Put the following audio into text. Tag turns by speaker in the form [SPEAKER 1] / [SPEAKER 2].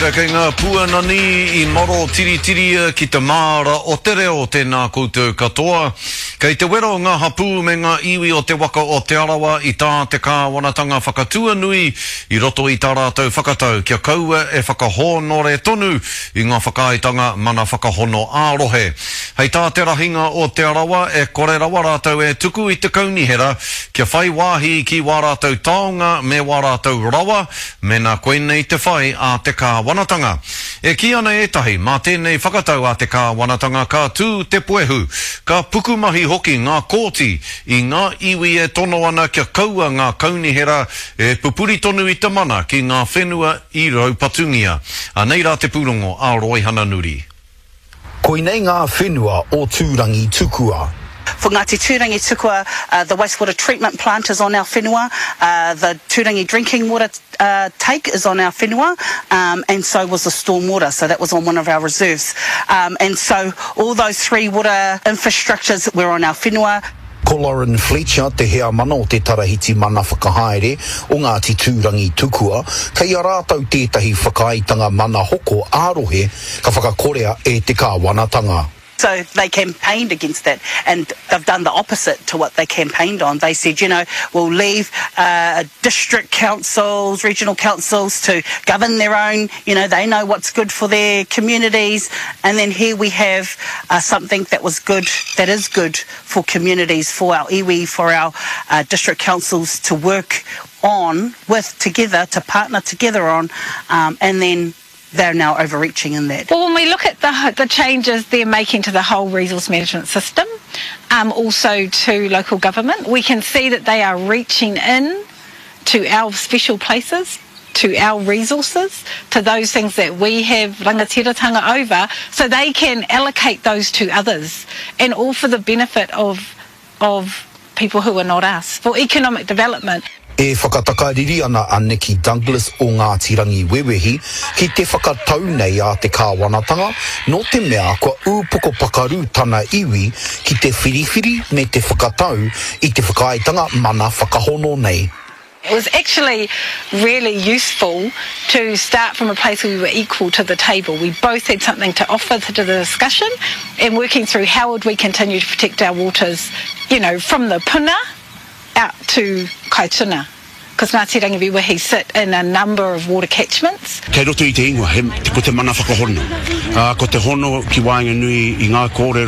[SPEAKER 1] reira kei ngā pua nani i maro tiritiria ki te māra o te reo tēnā koutou katoa. Kei te wero ngā hapū me ngā iwi o te waka o Te Arawa i tā te kāwanatanga whakatuanui i roto i tā rātou whakatau kia kaua e whakahōnore tonu i ngā whakaaetanga mana whakahono ā-rohe. Hei tā te rahinga o Te Arawa e kore rawa rātou e tuku i te kaunihera kia whai wāhi ki wā rātou taonga me wā rātou rawa Mēnā koinei te whai a te kāwanatanga. E kī ana ētahi, mā tēnei whakatau a te kāwanatanga ka tū te puehu, ka pukumahi hoki ngā kōti i ngā iwi e tono ana kia kaua ngā kaunihera e pupuri tonu i te mana ki ngā whenua i raupatungia. Anei rā te pūrongo a Roihana Nuri.
[SPEAKER 2] Koinei ngā whenua o Tūrangitukua.
[SPEAKER 3] For Ngāti Tūrangitukua, the wastewater treatment plant is on our whenua, the Tūrangi drinking water take is on our whenua, and so was the storm water, so that was on one of our reserves. And so all those three water infrastructures were on our whenua.
[SPEAKER 2] Ko Lauren Fletcher te heamana o te Tarahiti Mana Whakahaere o Ngāti Tūrangitukua, kei a rātou tētahi whakaaetanga mana hoko ā-rohe ka whakakorea e te kāwanatanga.
[SPEAKER 3] So they campaigned against that and they've done the opposite to what they campaigned on. They said, you know, we'll leave uh, district councils, regional councils to govern their own, you know, they know what's good for their communities. And then here we have uh, something that was good, that is good for communities, for our iwi, for our uh, district councils to work on with together, to partner together on, um, and then they're now overreaching in that.
[SPEAKER 4] Well, when we look at the, the changes they're making to the whole resource management system, um, also to local government, we can see that they are reaching in to our special places, to our resources, to those things that we have rangatiratanga over, so they can allocate those to others, and all for the benefit of, of people who are not us, for economic development.
[SPEAKER 2] E whakatakariri ana a Nikki Douglas o Ngāti Rangiwewehi ki te whakatau nei a te kāwanatanga nō te mea kua ūpoko pakaru tana iwi ki te whiriwhiri me te whakatau i te whakaaetanga mana whakahono nei.
[SPEAKER 4] It was actually really useful to start from a place where we were equal to the table. We both had something to offer to the discussion and working through how would we continue to protect our waters, you know, from the puna out to Kaituna. Because Ngāti Rangiwewehi sit in a number of water catchments.
[SPEAKER 5] Kei roto i te ingoa, he, ko te mana whakahono. Ā, ko te hono ki waenganui i ngā kōrero.